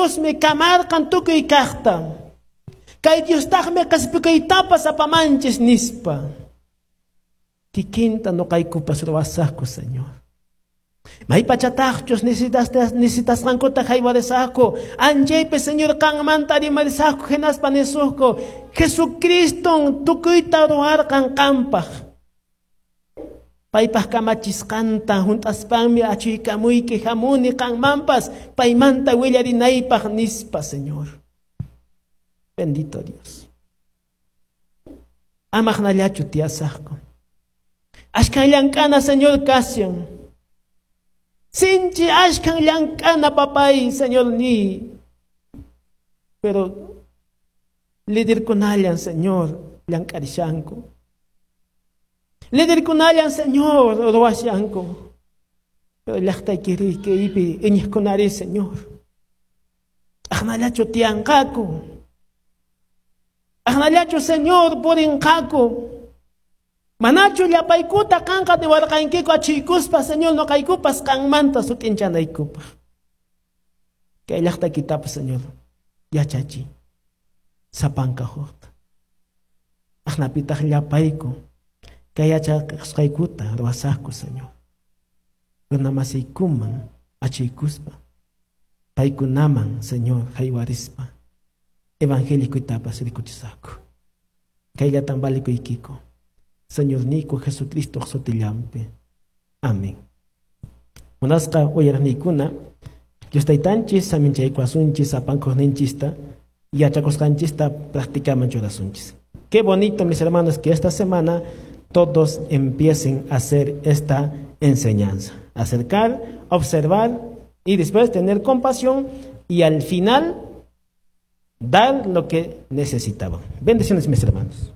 Diosmi kamarqan tukuy kaqta. Kay Diostaqmi qespikuytapas apamanchis nispa. Kikinta noqaykupas ruwasaqku, Señor. Maypachataqchus necesitasqankuta haywarisaqku, anchaypi, Señor, qanmanta rimarisaqku, hinaspa nisuqku, Jesucriston tukuyta ruwarqan qampaq. Paypaq kamachisqanta hunt'aspanmi achuykamuyki hamuni qanmanpas paymanta willarinaypaq nispa, Señor. Bendito Dios. Amaqnallachu tiyasaqku. Ashkan llank'ana, Señor, kashan. Sinchi ashkan llank'ana, papay, Señor ni. Pero liderkunallan, Señor, llank'arishanku. Liderkunallan, Señor, ruwashanku. Pero llaqtaykiripi iñiqkunari, Señor. Aqnallachu tiyanqaku. Aqnallachu, Señor, purinqaku. Manachu llapaykuta qanqa niwarqankiku achuykuspa, Señor, noqaykupas qanmanta sut'inchanaykupaq. Kay llaqtaykitapas, Señor, yachachiy sapanka hukta. Aqnapitaq llapayku kay yachaqasqaykuta ruwasaqku, Señor. Runamasiykuman achuykuspa, paykunaman, Señor, haywarispa, evangelikuytapas rikuchisaqku. Kayllatan valikuykiku. Señorniyku Jesucristo sutillanpi. Amén. Munasqa uyariqniykuna, Dios taytanchis saminchaykuwasunchis sapankuqninchista yachakusqanchista practicaman churasunchis. Qué bonito, mis hermanos, que esta semana todos empiecen a hacer esta enseñanza. Acercar, observar y después tener compasión y al final dar lo que necesitaban. Bendiciones, mis hermanos.